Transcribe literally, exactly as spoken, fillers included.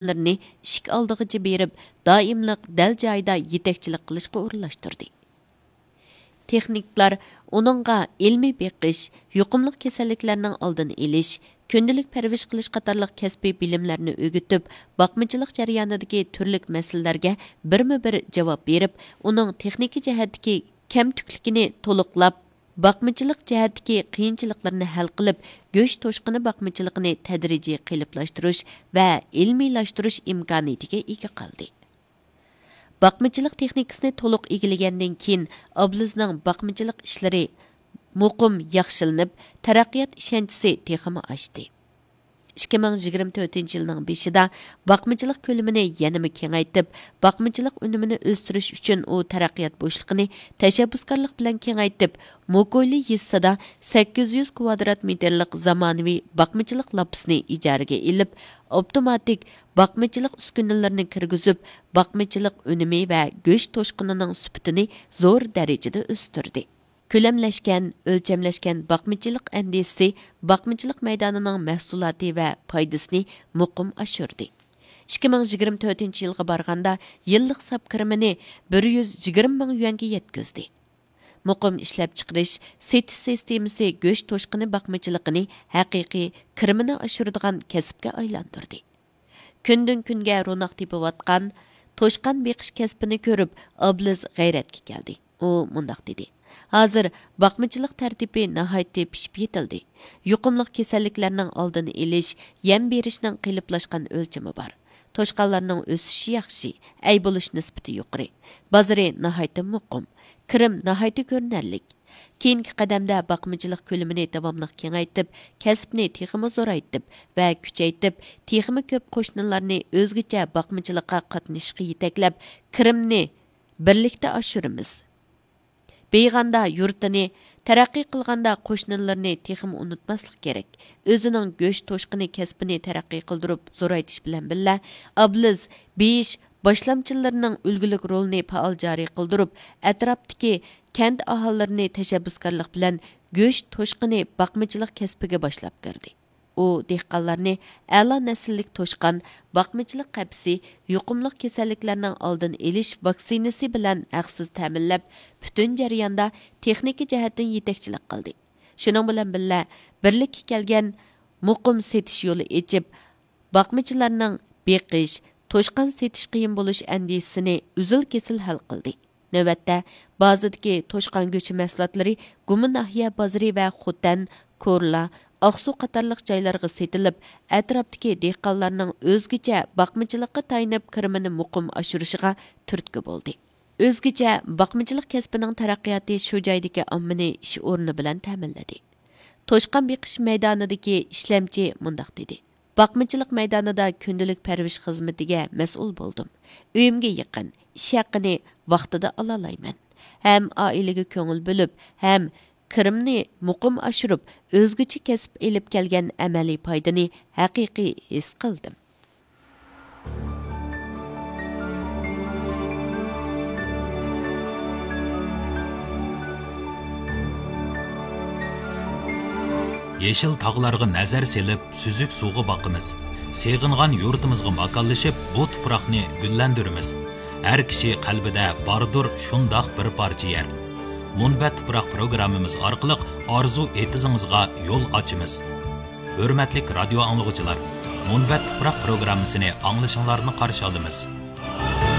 خادىملىرىنى ئىشىك ئالدىغىچە بېرىپ، دائىملىق دەل جايىدا يېتەكچىلىك قىلىشقا ئورۇنلاشتۇردى. تېخنىكلار ئۇنىڭغا ئىلمىي بېقىش، يۇقۇملۇق كېسەللىكلەرنىڭ ئالدىنى ئېلىش، كۈندىلىك پەرۋىش قىلىش قاتارلىق كەسپىي بىلىملەرنى ئۆگىتىپ، باقمىچىلىق جەريانىدىكى تۈرلۈك مەسىلىلەرگە بىرمۇ بىر جاۋاب بېرىپ، ئۇنىڭ تېخنىكا جەھەتتىكى كەمتۈكلۈكىنى تولۇقلاپ، باقمىچىلىق جەھەتتىكى قىيىنچىلىقلىرىنى ھەل قىلىپ، گۆش توشقىنى باقمىچىلىقىنى تەدرىجىي قېلىپلاشتۇرۇش ۋە ئىلمىيلاشتۇرۇش ئىمكانىيىتىگە ئىگە قىلدى. باقمىچىلىق تېخنىكىسىنى تولۇق ئىگىلىگەندىن كېيىن، ئابلىزنىڭ باقمىچىلىق ئىشلىرى مۇقىم ياخشىلىنىپ، تەرەققىيات ئىشەنچىسى تېخىمۇ ئاشتى. ئىككى مىڭ يىگىرمە تۆتىنچى يىلنىڭ بېشىدا باقمىچىلىق كۆلىمىنى يەنىمۇ كېڭەيتىپ، باقمىچىلىق ئۈنۈمىنى ئۆستۈرۈش ئۈچۈن ئۇ تەرەققىيات بوشلۇقىنى تەشەببۇسكارلىق بىلەن كېڭەيتىپ، موكويلى يېزىسىدا سەككىز يۈز كۋادرات مېتىرلىق زامانىۋى باقمىچىلىق لاپپىسىنى ئىجارىگە ئېلىپ، ئاپتوماتىك باقمىچىلىق ئۈسكۈنىلىرىنى كىرگۈزۈپ، باقمىچىلىق ئۈنۈمى ۋە گۆش توشقىنىنىڭ سۈپىتىنى زور دەرىجىدە ئۆستۈردى. كۆلەملەشكەن، ئۆلچەملەشكەن باقمىچىلىق ئەندىزىسى باقمىچىلىق مەيدانىنىڭ مەھسۇلاتى ۋە پايدىسىنى مۇقىم ئاشۇردى. ئىككى مىڭ يىگىرمە تۆتىنچى يىلغا بارغاندا، يىللىق ساپ كىرىمىنى بىر يۈز يىگىرمە مىڭ يۈەنگە يەتكۈزدى. مۇقىم ئىشلەپچىقىرىش، سېتىش سىستېمىسى گۆش توشقىنى باقمىچىلىقىنى ھەقىقىي كىرىمىنى ئاشۇرىدىغان كەسىپكە ئايلاندۇردى. كۈندىن-كۈنگە روناق تېپىۋاتقان توشقان بېقىش كەسپىنى كۆرۈپ، ئابلىز غەيرەتكە كەلدى. ئۇ مۇنداق دېدى: «ھازىر باقمىچىلىق تەرتىپى ناھايىتى پىشىپ يېتىلدى. يۇقۇملۇق كېسەللىكلەرنىڭ ئالدىنى ئېلىش، يەم بېرىشنىڭ قېلىپلاشقان ئۆلچىمى بار. توشقانلارنىڭ ئۆسۈشى ياخشى، ئەي بولۇش نىسبىتى يۇقىرى. بازىرى ناھايىتى مۇقىم. كىرىم ناھايىتى كۆرۈنەرلىك.» كېيىنكى قەدەمدە باقمىچىلىق كۆلىمىنى داۋاملىق كېڭەيتىپ، كەسىپنى تېخىمۇ زورايتىپ ۋە كۈچەيتىپ، تېخىمۇ كۆپ قوشنىلارنى ئۆزگىچە باقمىچىلىققا قاتنىشىشقا يېتەكلەپ، كىرىمنى بىرلىكتە ئاشۇرىمىز. بېيىغاندا يۇرتىنى، تەرەققىي قىلغاندا قوشنىلىرىنى تېخىمۇ ئۇنتۇماسلىق كېرەك. ئۆزىنىڭ گۆش توشقىنى كەسپىنى تەرەققىي قىلدۇرۇپ زورايتىش بىلەن بىللە، ئابلىز بېيىش باشلامچىلىرىنىڭ ئۈلگىلىك رولىنى پائال جارى قىلدۇرۇپ، ئەتراپتىكى كەنت ئاھالىلىرىنى تەشەببۇسكارلىق بىلەن گۆش توشقىنى باقمىچىلىق كەسپىگە باشلاپ كىردى. ئۇ دېھقانلارنى ئەلا نەسىللىك توشقان باقمىچىلىق قەپىسى، يۇقۇملۇق كېسەللىكلەرنىڭ ئالدىنى ئېلىش ۋاكسىنىسى بىلەن ھەقسىز تەمىنلەپ، پۈتۈن جەرياندا تېخنىكا جەھەتتىن يېتەكچىلىك قىلدى. شۇنىڭ بىلەن بىللە، بىرلىككە كەلگەن مۇقىم سېتىش يولى ئېچىپ، باقمىچىلارنىڭ بېقىش، توشقان سېتىش قىيىن بولۇش ئەندىشىسىنى ئۈزۈل-كېسىل ھەل قىلدى. نۆۋەتتە، بازىدىكى توشقان گۆشى مەھسۇلاتلىرى گۇما ناھىيە بازىرى ۋە خوتەن، كورلا، ئاقسۇ قاتارلىق جايلارغا سېتىلىپ، ئەتراپتىكى دېھقانلارنىڭ ئۆزگىچە باقمىچىلىققا تايىنىپ كىرىمىنى مۇقىم ئاشۇرۇشىغا تۈرتكە بولدى. ئۆزگىچە باقمىچىلىق كەسپىنىڭ تەرەققىياتى شۇ جايدىكى ئاممىنى ئىش ئورنى بىلەن تەمىنلىدى. توشقان بېقىش مەيدانىدىكى ئىشلەمچى مۇنداق دېدى: «باقمىچىلىق مەيدانىدا كۈندىلىك پەرۋىش خىزمىتىگە مەسئۇل بولدۇم. ئۆيۈمگە يېقىن، ئىش ھەققىنى ۋاقتىدا ئالالايمەن. ھەم ئائىلىگە كۆڭۈل بۆلۈپ، ھەم كىرىمنى مۇقىم ئاشۇرۇپ، ئۆزگىچە كەسىپ ئېلىپ كەلگەن ئەمەلىي پايدىنى ھەقىقىي ھېس قىلدىم.» يېشىل تاغلارغا نەزەر سېلىپ، سۈزۈك سۇغا باقىمىز. سېغىنغان يۇرتىمىزغا ماكانلىشىپ، بۇ تۇپراقنى گۈللەندۈرىمىز. ھەر كىشى قەلبىدە باردۇر شۇنداق بىر پارچە يەر. مۇنبەت تۇپراق پروگراممىمىز ئارقىلىق ئارزۇ ئېتىزىڭىزغا يول ئاچىمىز. ھۆرمەتلىك رادىيو ئاڭلىغۇچىلار، مۇنبەت تۇپراق پروگراممىسىنى ئاڭلىشىڭلارنى قارشى ئالىمىز.